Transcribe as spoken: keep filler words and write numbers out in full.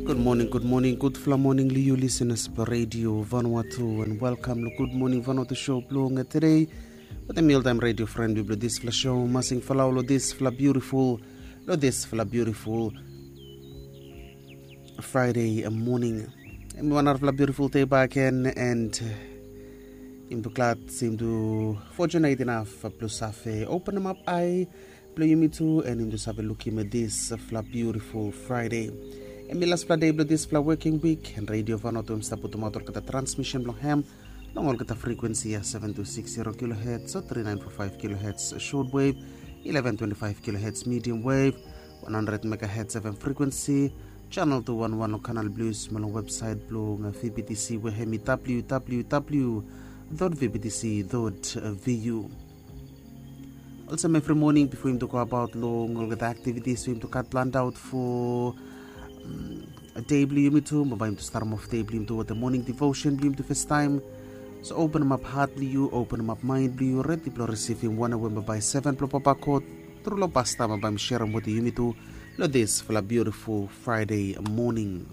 Gud moning, gud moning, gudfala moning long yu lisenas blong Radio Vanuatu, and welkam long Gud Moning Vanuatu show blong tede. Wetem mi oltaem radio fren blong disfala show, masing falau long disfala biutiful, long disfala biutiful Friday moning. Em i wan narafala biutiful dei baken, and yumi tu glad se yumi tu fortunate inaf blong save openem ap ae blong yumi tu, and yumi tu save lukim disfala biutiful Friday. Em i lasfala dei blong disfala woking wik, and Radio Vanuatu em i stap putumaot olgeta transmisen blong hem long olgeta frekuensi ya, seven two six zero kilohertz o three nine four five kilohertz short wave, eleven twenty-five kilohertz medium wave, one hundred megahertz F M frekuensi, channel two one one long kanal blue, mo long websaet blong V B T C, we hem i W W W dot V B T C dot V U. Olsem evri moning, bifo yumi tu go abaot long olgeta aktivitis we yumi tu gat planned out fo dei blong yumi tu, bambae yumi tu starem of dei blong yumi tu wetem moning devotion blong yumi tu fastaem. So openem ap hat blong yu, openem ap maen blong yu, redi blong risivim wanem we bambae seven blong Papa God tru long pasta bambae mi serem wetem yumi tu long disfala biutiful Friday moning.